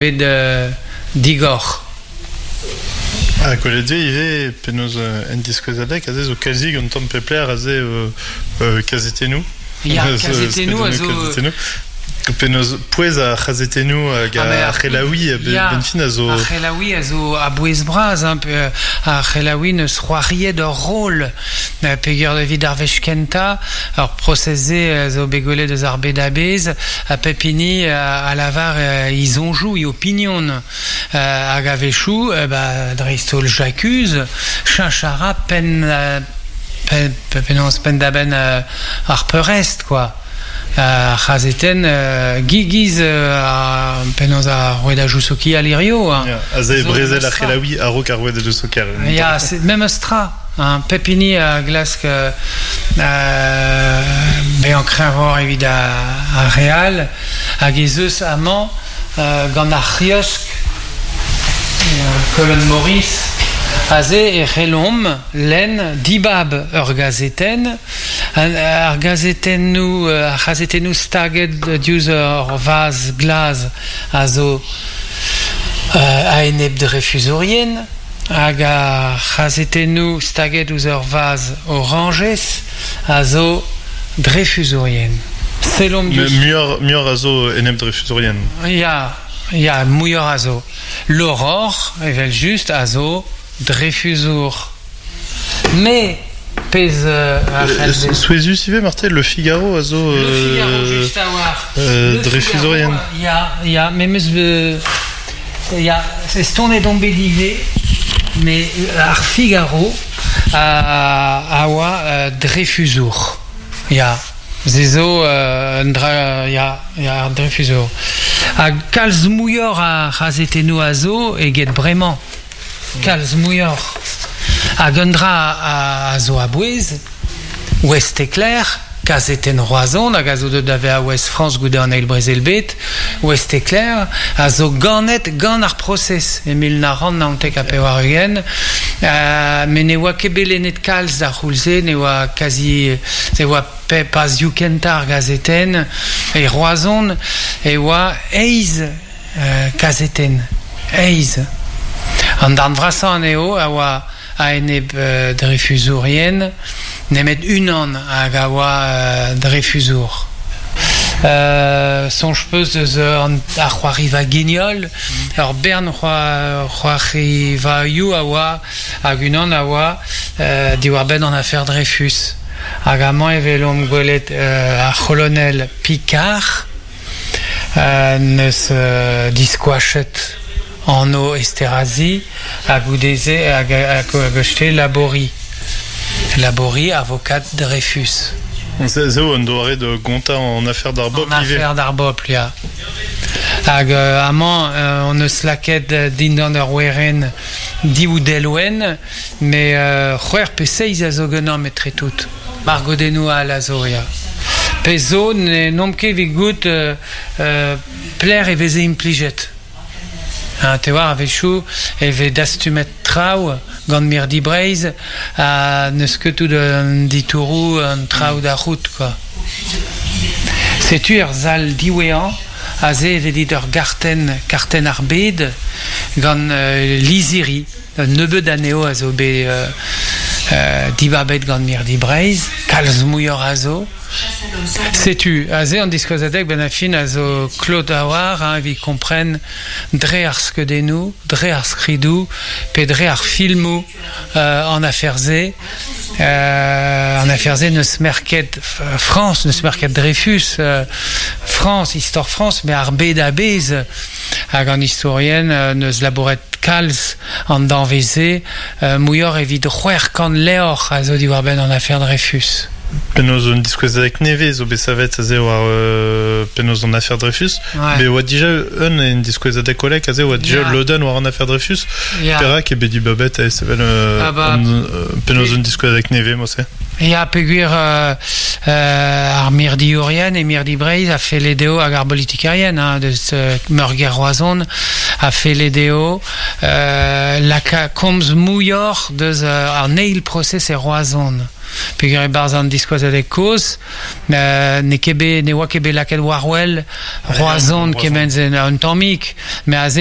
Bet digor. Ha gwelet eo ivez penaos en diskouezadeg aze zo kazi un tamm pep lec'h aze kazetennoù. Ya, kazetennoù a zo... Kazetennoù. Penaos pouez ar c'hazetennoù hag Ah, ar c'helaouiñ ya, benn fin a zo... Ar c'helaouiñ a zo a-bouez bras, hein, pe ar c'helaouiñ neus c'hoariet ur roll peogwir evit ar wech kentañ, ar prosez-se a zo bet gwelet eus ar bed a-bezh, ha pep hini a lavar e soñjoù, e opinion. Hag a-wechoù, ba, dreist-holl J'accuse, cheñch a ra penn, penn, penaos penn-da-benn ar peurrest, quoi. Ar c'hazetenn giz penaos ar rouedajoù sokial hirio. Hein. Ya, aze brezel ar c'helaouiñ a-raok ar rouedajoù sokial. Ya, c'est memes tra. Hein. Pep hini a glask bezañ kreñvoc'h evit ar re all hag ez eus amañ gant ar c'hiosk Colonne Maurice aze e c'hellomp lenn dibab ur gazetenn Ar gazetennoù, ar c'hazetennoù staget diouzh ur vazh glas a zo a-enep drefuzourien hag ar c'hazetennoù staget ouzh ur vazh orañjez a zo drefuzourien. Sellomp diouzh... Muioc'h, muioc'h a zo enep drefuzourien. Ya, ya, muioc'h a zo. L'Aurore, evel-just, a zo drefuzour. Me pezh a c'hell bezañ. Souezhus ivez marteze Le Figaro a zo Le Figaro just a-walc'h. Dreyfusourien. Ya, ya, me 'meus ya, estonet on bet ivez, mais ar Figaro a oa Dreyfusour. Ya, se zo un dra, ya, ya, ar Dreyfusour. Ha kalz muioc'h a c'hazetennoù a zo eget bremañ. Kalz muioc'h. Hag un dra a zo a-bouez, Ouest-Éclair, kazetenn Roazhon hag a zo deuet da vezañ Ouest-France goude an Eil Brezel-bed, Ouest-Éclair a zo ganet gant ar prosez e 1999, met ne oa ket bet lennet kalz d'ar c'houlz-se, ne oa kazi ne oa pazioù kentañ ar gazetenn. E Roazhon e oa eizh kazetenn eizh. An darn vrasañ anezho a oa a-enep drefuzourien, nemet unan hag a oa drefuzour. Soñj 'peus eus ar c'hoariva Guignol? Ur bern c'hoarivaioù a oa hag unan a oa diwar-benn an afer Dreyfus. Hag amañ e welomp gwelet ar c'holonel Picard 'neus diskoachet anv Esterhazy ha goude-se hag acheté Laborie. Laborie, avocat Dreyfus. Se zo un doare da gontañ an afer d'ar bobl ivez. An afer d'ar bobl, ya. Hag amañ hon eus lakaet dindan ur werenn div delwenn, met c'hwec'h pe seizh a zo ganeomp etre tout. Margodennoù all a zo, ya. Pezh zo, n'omp ket evit goût pelec'h e veze implijet. Ha te oar, a-wechoù e vez dastumet traoù gant Mirdi Breizh ha n'eus ket tout an ditouroù, an traoù da c'hoût, quoi. Setu er sal diwezhañ, aze e vez dit ur gartenn, kartenn ar bed gant lizhiri. Un nebeud anezho a zo bet dibabet gant Mirdi Breizh, kalz muioc'h a zo. Setu aze an diskouezadeg benn ar fin a zo klot a-walc'h hein, evit kompren dre ar skeudennoù, dre ar skridoù pe dre ar filmoù an afer-se. An afer-se n'eus merket Frañs, n'eus merket Dreyfus, Frañs, istor Frañs, met ar bed a-bezh. Hag an istorien n'eus labouret kalz an danvez-se, muioc'h evit 600 levr a zo diwar-benn an afer Dreyfus. Penaos un diskouezadeg nevez zo bet savet aze war penaos an afer Dreyfus. Ouais. Bet oa dija un en diskouezadeg kolek aze oa dija Ya. lodenn war an afer Dreyfus. Ya. Perak eo bet dibabet e sevel Ah bah, penaos un diskouezadeg nevez mod-se? Ya, peogwir ar mirdiourien e mirdi Breizh a felle dezho hag ar bolitikerien hein, deus meurgêr Roazhon a felle dezho laka komz muioc'h deus an eil prosez e Roazhon. Peogwir e-barzh an diskouezadeg kozh, n'eo ket bet, ne oa ket bet lakaet war-wel Roazhon kement-se un tammig, met aze